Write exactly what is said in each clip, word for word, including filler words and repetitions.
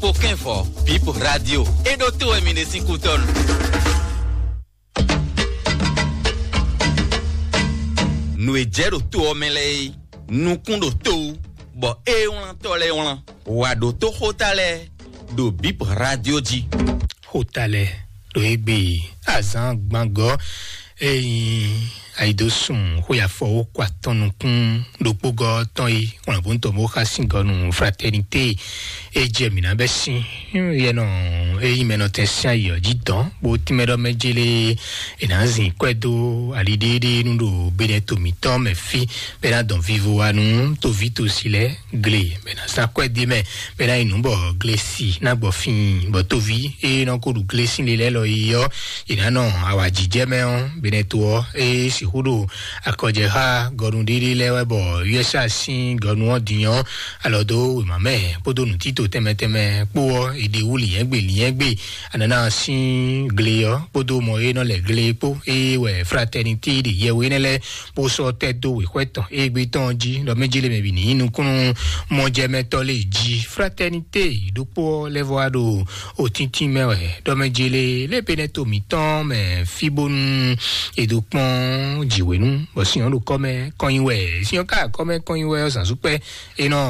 Kpokɛ́nvɔ, Bip Radio, é ɖó tó wɛ mi ɖe sín kútɔ́nu. Nǔ e jɛ ɖo to ɔ́ mɛ lɛ́ɛ é, nukún ɖo to wú, bɔ é wlántɔ́ lɛ́ɛ wlán. Wǎ ɖó tó xóta lɛ́ɛ ɖo Bip Radio jí. Xóta lɛ́ɛ ɖo égbé azǎn gbangɔ, eyin ayidosun xóyafɔ wó kɔ atɔn nukún ɖokpógɔ tɔn yi wlán bó tɔn bó xa sín gɔ nú Fraternité. E jɛ mǐ ná bɛ́ sín yɛnɔ eyin mɛnɔ tɛn sín ayǐ ɔ́ jí dɔn bó tínmɛ ɖɔ mɛ jélé è nǎ zin kwɛ́ dó aliɖéɖé nú ɖo Benɛto mǐtɔn mɛ fí, bɔ é ná dɔn vivo wa nú toví tosi lɛ́ɛ gle, bɔ è nǎ zán kwɛ́ d'é mɛ, bɔ é ná nyí nǔ bɔ glesi ná gbɔ fíin, bɔ toví e nɔ ko ɖu glesi lé lɛ́ɛ lɔ yi ɔ́, è nǎ nɔ awǎjijɛ mɛ ɔ́, Benɛto ɔ́, é sixú ɖo akɔjɛ xá gɔnu ɖéɖé lɛ́ɛ wɛ, bɔ U S A sín gɔnu ɔ́ din ɔ́, alɔ dó wěma mɛ kpódó nǔtítò tɛnmɛ tɛnmɛ kpó ɔ́, è ɖe wú lǐnyɛ́gbe lǐnyɛ́gbe, anana sín gle ɔ́ kpódó mɔ e nɔ lɛ gle kpó, eye wɛ Fraternité ɖe yɛwé nɛ́ lɛ́ɛ bó sɔ́ tɛ́ dó wěxwɛ́ tɔn égbé tɔn jí, ɖɔ mɛ jélé mɛ bǐ ní nyí nukúnnú mɔjɛmɛtɔ́ lé jí. Fraternité ɖokpó ɔ́ lɛ́ vɔ wá ɖo òtíntín mɛ wɛ, ɖɔ mɛ jélé lé Benɛto mǐtɔn mɛ fí bónú è dó kpɔ́n jǐwěnú, bɔ sin ɔ́ ɖo kɔ́ mɛ kɔn nyi wɛ, sin ɔ́ ka kɔ́ mɛ kɔn nyi wɛ ɔ́ zǎnzúkpɛ́ é nɔ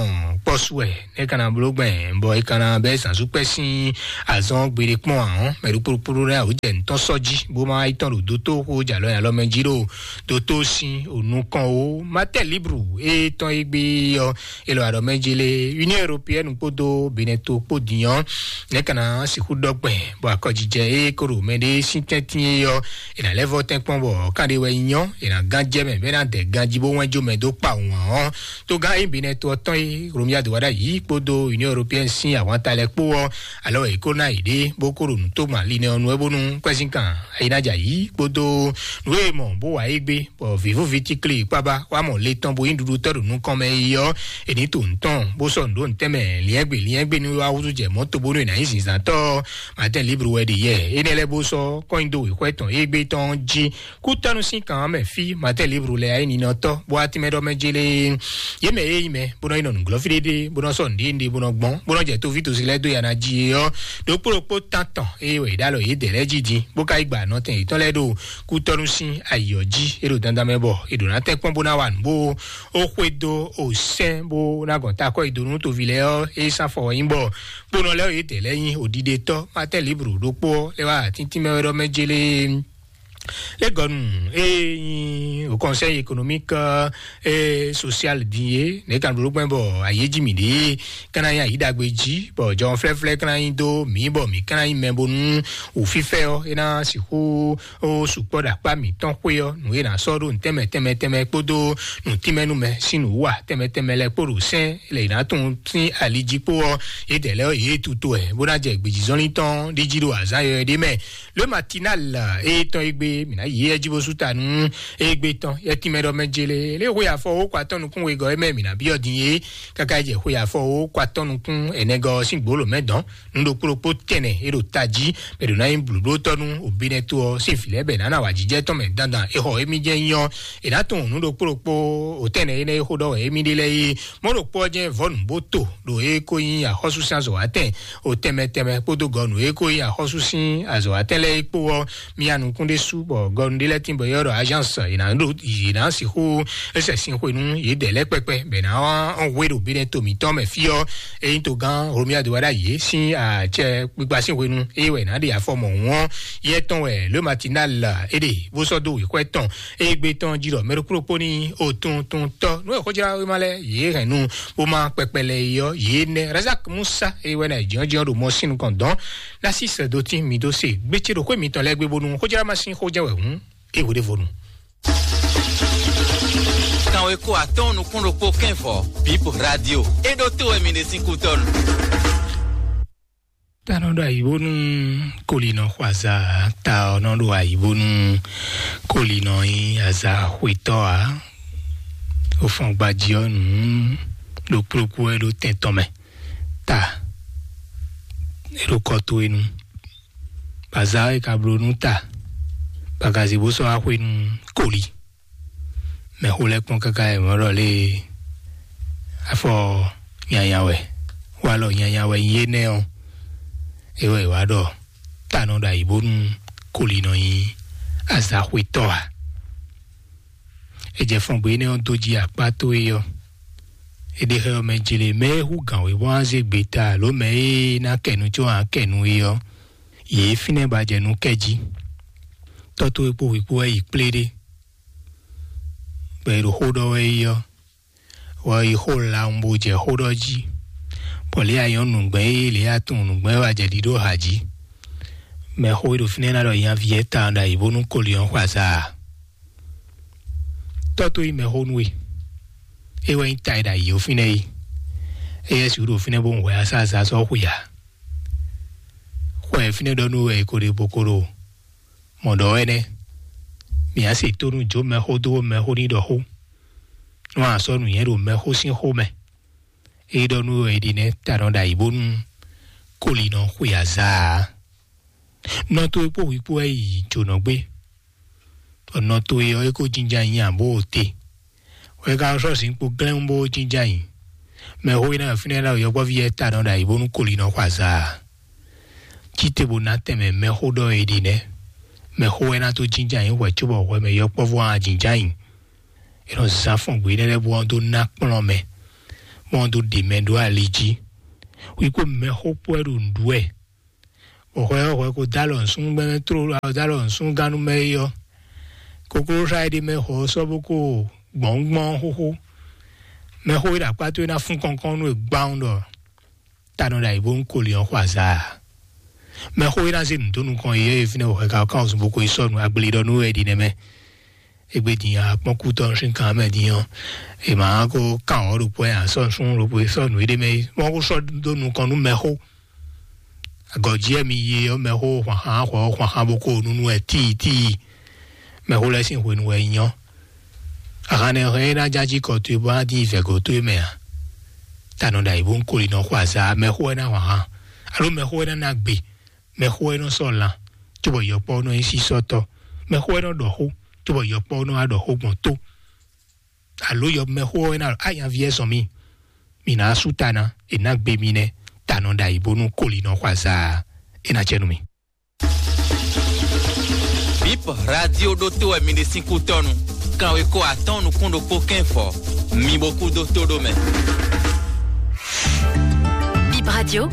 kpɔ́ su wɛ, é ka ná bló gbɛn, bɔ é ka ná bɛ́ zǎnzúkpɛ́ sín azɔn gbeɖé kpɔ́n ǎ ɔ́, mɛ ɖokpó ɖokpó ɖó lɛ́ɛ wǔ jɛ nǔtɔn sɔ́ jí, bó má yi tɔn ɖo dótó xó jalɔ nyi alɔ mɛ jí ɖo dótó sín onukɔn ó. Matɛ Libru e tɔn e gbé ɔ́, é lɔ aɖɔ mɛ jí lé Union Européenne kpódó Benɛto kpó din ɔ́, nɛ̌ ka ná sixú ɖɔ gbɛn, bɔ akɔjijɛ e ko ɖo mɛɖé sín tɛ́ntin é ɔ́, è nǎ lɛ́ vɔ tɛ́nkpɔ́n bɔ kánɖé wɛ nyí nyɔ́, è nǎ gán jɛ mɛ, bɔ é ná dɛ ganjí bó wɛ́n jó mɛ dó kpa wǎn ɔ́. Togán e Benɛto ɔ́ tɔn e Romia do wá ɖ'ayǐ kpódó Union Européenne sín ahwanta lɛ́ɛ kpó ɔ́, alɔ è ko ná yě ɖe bó ko ɖo nǔ tó gbɔn ali nɛ ɔ́ nu wɛ bónú kwɛ́zínkan ayinájà yí kpódó nǔ e mɔ bó wá é gbé, bɔ vǐvúvǐ tíklí kpábá wá mɔ le tɔn bó nyí ɖuɖutɔ́ ɖo nukɔn mɛ é ɔ́, è ní to nǔ tɔn bó sɔ́ nǔ ɖó nǔtɛ́ mɛ liɛ́ngbě liɛ́ngbé nú wá húzú jɛ mɔ̌ to bónú è nǎ nyí zǐnzǎntɔ́. Martin Libre wɛ ɖe yɛ énɛ́ lɛ́ɛ bó sɔ́ kɔ́nnyidó wěxwɛ́ tɔn égbé tɔn jí. Kútɔ́nú sín kan ɔ́ mɛ fí Martin Libre lɛ́ɛ ayé ninɔtɔ́ bó wá tínmɛ ɖɔ mɛ jélé. Yě mɛ e nyí mɛ bó nɔ yi nɔ nǔglɔ́ fí ɖéɖé bó nɔ sɔ́ nǔɖé nǔɖé bó nɔ gbɔn bó nɔ jɛ tóví tosí lɛ́ɛ dó ya ná jí é ɔ́, ɖokpó ɖokpó tán tɔn eye wɛ è ɖó alɔ yědɛɛ lɛ́ɛ jí din bó ka yi gba nɔtɛn yětɔn lɛ́ɛ ɖo kútɔ́nú sín ayǐ ɔ́ jí. É ɖo dandan mɛ bɔ è ɖǒ ná tɛ́nkpɔ́n bó ná wa nǔ bó ó xwedó ó sɛ́n bó ná gɔn takɔ́ yi dó nú toví lɛ́ɛ ɔ́, é sán fɔ wɛ nyí bɔ kponɔ lɛ́ɛ ɔ́ yědɛɛ lɛ́ɛ nyí òɖiɖetɔ́. Martin Libre ɖokpó ɔ́ lɛ́ wá atíntín mɛ wɛ ɖɔ mɛ jélé. Lé gɔnu e nyi o conseil économique et social din é, ne kan ɖo gbɛn bɔ ayé jí mi ɖe kana nya yi dagbe jí bɔ jɔ flɛflɛ kana nyi do mi bɔ mi kana nyi mɛ bonu wò fifɛ ɔ e na sixú o sukpɔ ɖo akpa mǐtɔn xwé ɔ nǔ e na sɔ ɖo ntɛmɛ tɛmɛ tɛmɛ kpódó nǔtínmɛnú mɛ sín nǔ wa tɛmɛ tɛmɛ lɛ kpó ɖo sɛn lɛ yi na tún sín ali jí kpó ɔ, yě dɛ lɛ yě tuto ɛ bó ná jɛ gbějízɔnlin tɔn ɖíjí ɖo azán yɔyɔ ɖé mɛ. Le Matinal e tɔn egbe mǐ ná yí ɛ jí bó sú ta nú egbe tɔn yɛ tínmɛ ɖɔ mɛ jele lé xwe afɔ wo kɔ atɔn nukún wegɔ e mɛ mǐ ná byɔ́ din é kaka jɛ xwe afɔ wo kɔ atɔn nukún ɛnɛgɔ sín gbolo mɛ dɔn nú ɖokpó ɖokpó tɛnɛ e ɖo tají bɛ ɖo ná nyí blǔɖótɔ́ nú òbínɛ́ tó ɔ́ sín vǐ lɛ́ɛ bɛ ná ná wǎjijɛ tɔn mɛ dandan e xɔ émí jɛ nyí ɔ́, è nǎ tunwun nú ɖokpó ɖokpó òtɛnɛ énɛ́ e xó ɖɔ wɛ émí ɖe lɛ́ɛ é. Mɔ̌ ɖokpó ɔ́ jɛ́n vɔ̌ nǔbóto ɖo e ko nyí axɔ́súsín azɔ̌watɛn o tɛnmɛ tɛnmɛ kpódó gɔnu e ko nyí axɔ́súsín azɔ̌watɛn lɛ́ɛ é kpó ɔ́, mía nukún ɖésú bɔ gɔnu ɖé lɛ́ɛ tín bɔ yɔ́ ɖɔ agence yě ná ɖo yě ná sixú é sɛ sin xwe nú yě dɛ lɛ́ kpɛkpɛ bɛ ná hwe ɖo bínɛ to mǐtɔn mɛ fí ɔ́, é nyí togán Romuald Wadagni sín acɛ kpikpa sín hwenu é wɛ ná ɖe afɔ mɔ̌hun ɔ́, yɛ tɔn wɛ Le Matinal é ɖe bó sɔ́ dó wěxwɛ́ tɔn. Égbé tɔn jí ɖɔ mɛ ɖokpó ɖokpó ní òtuntɔntɔ́ nú ɛ xójlá wéma lɛ́ɛ yě hɛn nu bó má kpɛkpɛ lɛ yi ɔ́, yě nɛ́ Razak Musa é wɛ ná jǐnjɔ́n ɖo mɔ sín nukɔn dɔn. Ná sí sɛ́ dó tín mi dó se gbécé ɖo xwé mitɔn lɛ́ɛ gbé bónú xójlá má sín xó jɛ́n wɛ hǔn é hwe ɖěvo nu. Kanwe ko atɔn nukún ɖokpó kɛnvɔ Bip Radio é ɖó tó wɛ mi ɖe sín kútɔ́nu. Ta nɔ ɖo ayǐ bónú kolinɔ xɔ azǎ, ta ɔ́ nɔ ɖo ayǐ bónú kolinɔ nyí azǎ xwetɔ́ ǎ. Ó fɔ́n gbají ɔ́ nǔ ɖokpó ɖokpó wɛ ɖó tɛn tɔn mɛ. Ta é ɖo kɔ towe nu. Azǎ e ka bló nú ta bakazi bó sɔ́ wá xwé nú koli. Mɛ xo lɛ́ kpɔ́n káká ɛ mɔ̌ ɖɔ lé afɔ nyanya wɛ, walɔ nyanya wɛ nyí énɛ́ ɔ́. É wɛ è wá ɖɔ ta nɔ ɖo ayǐ bónú koli nɔ nyí azaxwetɔ́ ǎ. È jɛ fɔngbó énɛ́ ɔ́ dó jí akpá towe ɔ́. È ɖe xɛ ɔ́ mɛ jlé mɛ e hú gǎn wěwɔ́ ǎ zé gbe ta alo mɛ e ná kɛ nu có ǎ kɛ nu é ɔ́, yě fínɛ́ ba jɛ nú kɛ jí. Tɔ́ towe kpó hwi kpó wɛ yi kplé ɖé, bɔ è ɖo xó ɖɔ wɛ é ɔ́, wɔ yi xó lawun bó jɛ xó ɖɔ jí, bɔ lě a nyɔ́ nǔgbɛ́n é lě a tunwun nǔgbɛ́n wɛ a jɛ ɖiɖó ha jí. Mɛxó e ɖo fínɛ́ ná ɖɔ nyaví ɛ tawun ɖo ayǐ bónú koli ɔ́ xɔ azaa. Tɔ́ tó nyí mɛxó nú we. É wɛ nyí ta e ɖo ayǐ ó fínɛ́ é. Éyɛ́ sixú ɖo fínɛ́ bó hwɛ asá azǎn sɔ́ xwe ǎ. Xɔ ɛ fínɛ́ ɖɔ nú wɛ è ko ɖe bo ko ɖo mɔ̌ ɖɔ wɛ nɛ́. Mǐ á se tónú jó mɛxó dó mɛxó ní ɖɔ xó. Nú a sɔ́ nǔnywɛ́ ɖo mɛxó sín xó mɛ. É ɖɔ nú wɛ è ɖi nɛ́ ta nɔ ɖo ayǐ bónú koli nɔ xwe azaa ǎ. Nɔ towe kpó hwi kpó wɛ yi jǒnɔ gbé. Bɔ nɔ towe ɔ́, é ko jínjɔ́n ayǐ ǎ bó o te. Wɛ ka sɔ́ zinkpo glɛ́n bó jínjɔ́n ayǐ. Mɛxó e ná ɖo fínɛ́ ná ɖo yɔkpɔ́ví yɛ́ ta nɔ ɖo ayǐ bónú koli nɔ xɔ azaa ǎ. Cí te bó ná tɛnmɛ mɛxó ɖɔ è ɖi nɛ́. Mɛxó wɛ ná tó jínjɔ́n ayǐ hwɛ cóbɔ hwɛ mɛ yɔkpɔ́vú á jínjɔ́n ayǐ. È nɔ zán fɔn gbě énɛ́ lɛ́ɛ bó ɔ́ dó ná kplɔ́n mɛ, bó ɔ́ dó ɖe mɛ ɖó ali jí. Hwi kpó mɛxó kpó wɛ ɖo nǔɖuɖu wɛ. Bɔ hwɛ ɔ́, hwɛ ko dó alɔ nǔsúnnú gbɛmɛ tló, dó alɔ nǔsúnnú gannú mɛ é ɔ́, koklósá e ɖ'é mɛ xɔ ɔ́ sɔ́ bó ko gbɔn gbɔn xóxó. Mɛxó e ɖo akpá towe ná fún kɔnkɔn nú e gbawun ɖɔ ta nɔ ɖo ayǐ bónú koli ɔ́ xɔ azaa. Mɛxó e ná zé nǔ dó nukɔn yě e fínɛ́ wɛ hwɛ ka kan zun bó ko yi sɔ́ nǔ agble ɖɔ nú wɛ ɖi nɛ́ mɛ. Égbé din a kpɔ́n kútɔ́ sín kan mɛ din ɔ́, è ma ko kan ɔ́ ɖokpó ɛ a sɔ́ nǔsúnnú ɖokpó e sɔ́ nǔ éɖé mɛ é. Wọ́n ko sɔ́ dó nukɔn nú mɛxó. Agɔ̌jí ɛ mi yi ɔ́, mɛxó hwanxán xɔ ɔ́ hwanxán bó ko nú nú ɛ tíi tíi. Mɛxó lɛ́ɛ sín hwenu wɛ nyí ɔ́. Ahan nɛ hɛn é ná jájí kɔ towe bó ná dín vɛ̌go towe mɛ ǎ. Ta nɔ ɖo ayǐ bó ń koli nɔ xɔ azǎ, mɛxó wɛ ná hwanxán, alo mɛxó wɛ ná ná gbe, mɛxó wɛ nɔ sɔ́ lan, cóbɔ yɔkpɔ́ nɔ nyí sísɔ́tɔ́, mɛxó wɛ nɔ ɖɔ xó, cóbɔ yɔkpɔ́ nɔ wá ɖɔ xó gbɔn tó. Alo yɔ mɛxó ɔ́ ná ɖɔ, "Á nyaví ɛ zɔn mì, mǐ ná sú ta ná, è nǎ gbe mi nɛ́, ta nɔ ɖo ayǐ bónú koli nɔ xɔ azaa, é ná jɛ nú mì." Bip radio ɖótó wɛ mi ɖe sín kútɔ́nu. Kanweko atɔ́ɔ́n nukún ɖokpó kɛ́nfɔ. Mi bo kú dó tó ɖó mɛ. Bip Radio,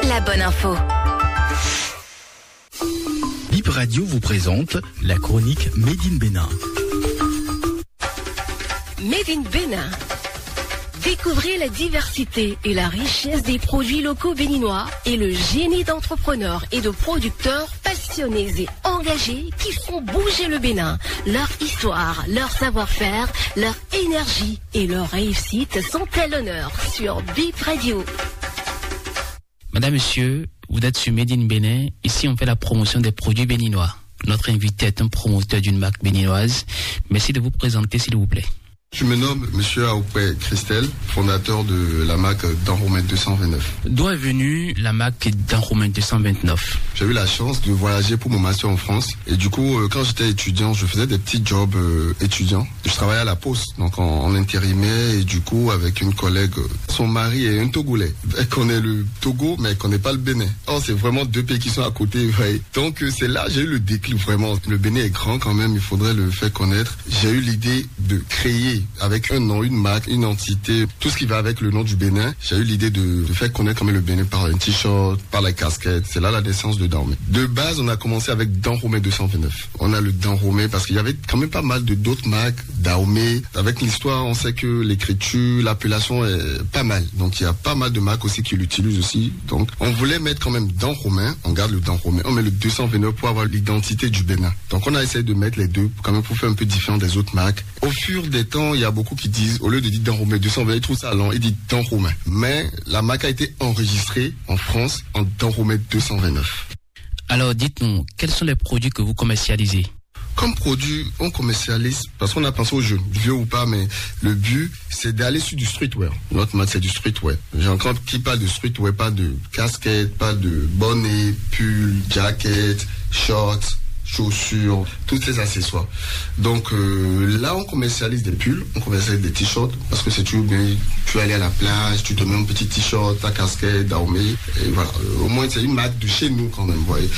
la bonne info. Bip Radio vous présente la chronique Made in Bénin. Made in Bénin. Découvrez la diversité et la richesse des produits locaux béninois et le génie d'entrepreneurs et de producteurs passionnés et engagés qui font bouger le Bénin. Leur histoire, leur savoir-faire, leur énergie et leur réussite sont à l'honneur sur Bip Radio. Madame, Monsieur, vous êtes sur Made in Bénin. Ici, on fait la promotion des produits béninois. Notre invité est un promoteur d'une marque béninoise. Merci de vous présenter, s'il vous plaît. Je me nomme Monsieur Aoupé Christel, fondateur de la marque Danromé deux cent vingt-neuf. D'où est venue la marque Danromé deux cent vingt-neuf ? J'ai eu la chance de voyager pour mon master en France. Et du coup, euh, quand j'étais étudiant, je faisais des petits jobs, euh, étudiants. Je travaillais à la poste, donc en, en intérimaire, et du coup, avec une collègue, euh, son mari est un Togolais. Elle connaît le Togo, mais elle connaît pas le Bénin. Or, c'est vraiment deux pays qui sont à côté, vous voyez. Donc, euh, c'est là, j'ai eu le déclic, vraiment. Le Bénin est grand quand même, il faudrait le faire connaître. J'ai eu l'idée de créer, avec un nom, une marque, une entité, tout ce qui va avec le nom du Bénin. J'ai eu l'idée de, de faire connaître quand même le Bénin par un t-shirt, par la casquette. C'est là la naissance de Danromé. De base, on a commencé avec Danromé deux cent vingt-neuf. On a le Danromé parce qu'il y avait quand même pas mal de d'autres marques Dahomey. Avec l'histoire, on sait que l'écriture, l'appellation est pas mal. Donc, il y a pas mal de marques aussi qui l'utilisent aussi. Donc, on voulait mettre quand même Danromé. On garde le Danromé. On met le deux cent vingt-neuf pour avoir l'identité du Bénin. Donc, on a essayé de mettre les deux quand même pour faire un peu différent des autres marques. Au fur des temps, il y a beaucoup qui disent, au lieu de dire Danromé deux cent vingt, ils trouvent ça long, ils disent Danromé. Mais la marque a été enregistrée en France en Danromé deux cent vingt-neuf. Alors, dites-nous, quels sont les produits que vous commercialisez ? Comme produit, on commercialise parce qu'on a pensé aux jeunes, vieux ou pas, mais le but, c'est d'aller sur du streetwear. Notre marque, c'est du streetwear. J'ai encore qui parle de streetwear, pas de casquette, pas de bonnet, pull, jacket, shorts. chaussures, tous ces accessoires. Donc euh, là, on commercialise des pulls, on commercialise des t-shirts, parce que c'est toujours bien, tu vas aller à la plage, tu te mets un petit t-shirt, ta casquette, Dahomey, et voilà. Euh, au moins, c'est une marque de chez nous quand même, vous voyez.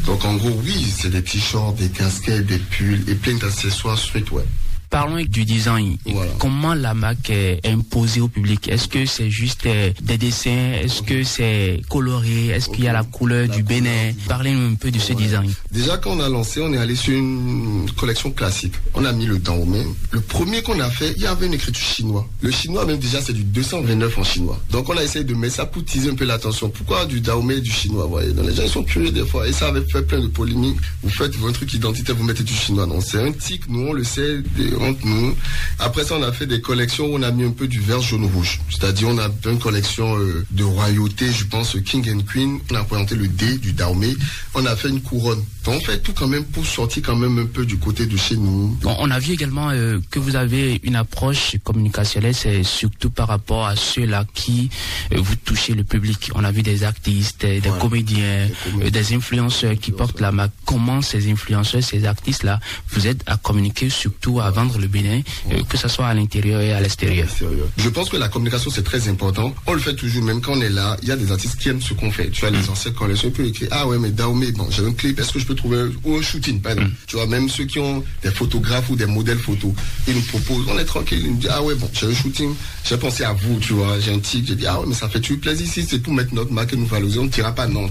Donc en gros, oui, c'est des t-shirts, des casquettes, des pulls et plein d'accessoires streetwear. Parlons du design. Voilà. Comment la marque est imposée au public? Est-ce que c'est juste euh, des dessins? Est-ce que c'est coloré? Est-ce qu'il y a la couleur du Bénin? Parlez-nous un peu de ce design. Déjà, quand on a lancé, on est allé sur une collection classique. On a mis le Dahomey. Le premier qu'on a fait, il y avait une écriture chinoise. Le chinois, même déjà, c'est du deux cent vingt-neuf en chinois. Donc, on a essayé de mettre ça pour teaser un peu l'attention. Pourquoi du Dahomey et du chinois, vous voyez? Donc, les gens, ils sont curieux des fois. Et ça avait fait plein de polémiques. Vous faites un truc identitaire, vous mettez du chinois. Non, c'est un tic, nous, on le sait, entre nous. Après ça, on a fait des collections où on a mis un peu du vert, jaune, rouge. C'est-à-dire, on a fait une collection euh, de royauté, je pense, King and Queen. On a présenté le D du Dahomey. On a fait une couronne. Donc, on fait tout quand même pour sortir quand même un peu du côté de chez nous. Bon, on a vu également euh, que vous avez une approche communicationnelle, c'est surtout par rapport à ceux-là qui euh, vous touchez le public. On a vu des artistes, euh, des comédiens, euh, des influenceurs qui portent la marque. Comment ces influenceurs, ces artistes-là, vous aident à communiquer, surtout à vendre le Bénin, euh, que ce soit à l'intérieur et à l'extérieur? Je pense que la communication, c'est très important. On le fait toujours, même quand on est là, il y a des artistes qui aiment ce qu'on fait. Tu vois, les anciens, quand les gens peuvent écrire, ah ouais, mais Dahomey, bon, j'ai un clip, est-ce que je peux trouver un, ou un shooting, par exemple? Tu vois, même ceux qui ont des photographes ou des modèles photos, ils nous proposent, on est tranquille, ils nous disent, ah ouais, bon, j'ai un shooting, j'ai pensé à vous, tu vois, j'ai un tic, j'ai dit, ah ouais, mais ça fait toujours plaisir, si c'est pour mettre notre marque et nous valoriser, on ne dira pas non.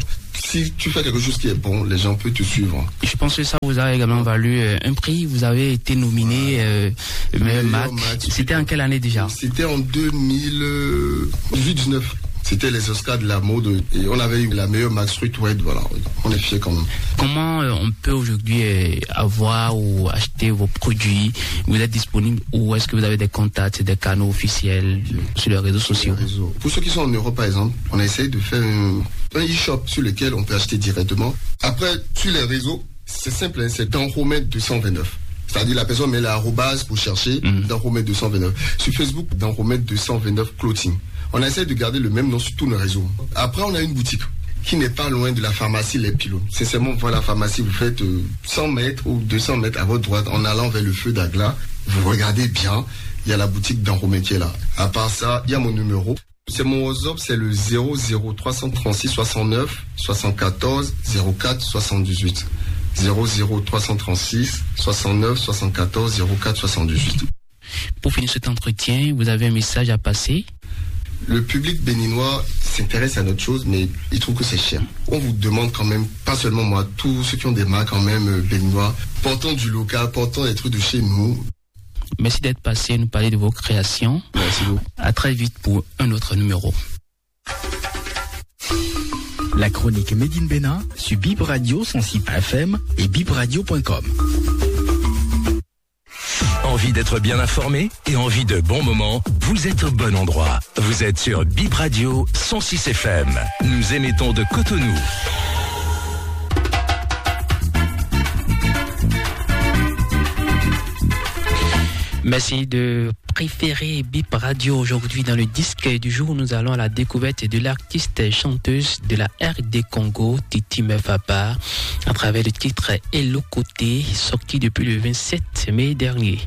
Si tu fais quelque chose qui est bon, les gens peuvent te suivre. Je pense que ça vous a également valu euh, un prix. Vous avez été nominé euh, meilleur Mac. C'était en quelle année déjà? C'était en deux mille dix-neuf. C'était les Oscars de la mode et on avait eu la meilleure Mac Streetwear. Voilà, on est fiers quand même. Comment euh, on peut aujourd'hui euh, avoir ou acheter vos produits? Vous êtes disponible ou est-ce que vous avez des contacts, des canaux officiels sur les réseaux sociaux? Pour ceux qui sont en Europe, par exemple, on a essayé de faire un, un e-shop sur lequel on peut acheter directement. Après, sur les réseaux, c'est simple, hein, c'est Dahomey deux cent vingt-neuf. C'est-à-dire la personne met l'arobase pour chercher Dahomey deux cent vingt-neuf. Sur Facebook, Dahomey deux cent vingt-neuf Clothing. On essaie de garder le même nom sur tous nos réseaux. Après, on a une boutique qui n'est pas loin de la pharmacie Les Pylônes. Sincèrement, voilà, la pharmacie, vous faites euh, cent mètres ou deux cents mètres à votre droite en allant vers le feu d'Agla. Vous regardez bien, il y a la boutique Dahomey qui est là. À part ça, il y a mon numéro. C'est mon WhatsApp, c'est le zéro zéro trois cent trente-six soixante-neuf soixante-quatorze zéro quatre soixante-dix-huit. Zéro zéro trois cent trente-six soixante-neuf soixante-quatorze zéro quatre soixante-dix-huit. Pour finir cet entretien, vous avez un message à passer? Le public béninois s'intéresse à notre chose, mais il trouve que c'est cher. On vous demande quand même, pas seulement moi, tous ceux qui ont des marques quand même euh, béninois, portons du local, portons des trucs de chez nous. Merci d'être passé nous parler de vos créations. Merci beaucoup. À très vite pour un autre numéro. La chronique Made in Bénin sur Bip Radio cent six F M et bipradio point com. Envie d'être bien informé et envie de bons moments? Vous êtes au bon endroit. Vous êtes sur Bip Radio cent six F M. Nous émettons de Cotonou. Merci de préférer Bip Radio aujourd'hui. Dans le disque du jour, nous allons à la découverte de l'artiste chanteuse de la R D Congo, Titi Mefapa, à travers le titre Hello Côté, sorti depuis le vingt-sept mai dernier.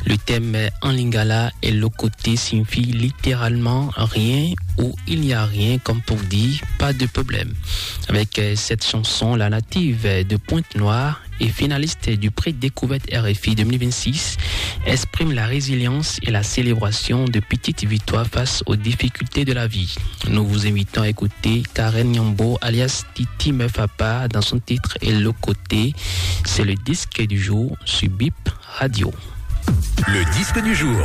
Le thème en lingala, Hello Côté, signifie littéralement rien ou il n'y a rien, comme pour dire pas de problème. Avec euh, cette chanson, la native de Pointe-Noire et finaliste du prix Découverte R F I deux mille vingt-six, exprime la résilience et la célébration de petites victoires face aux difficultés de la vie. Nous vous invitons à écouter Karen Nyambo alias Titi Mefapa dans son titre Hello Côté. C'est le disque du jour sur Bip Radio. Le disque du jour.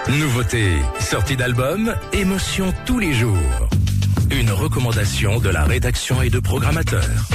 Nouveauté, sortie d'album, émotion tous les jours. Une recommandation de la rédaction et de programmateurs.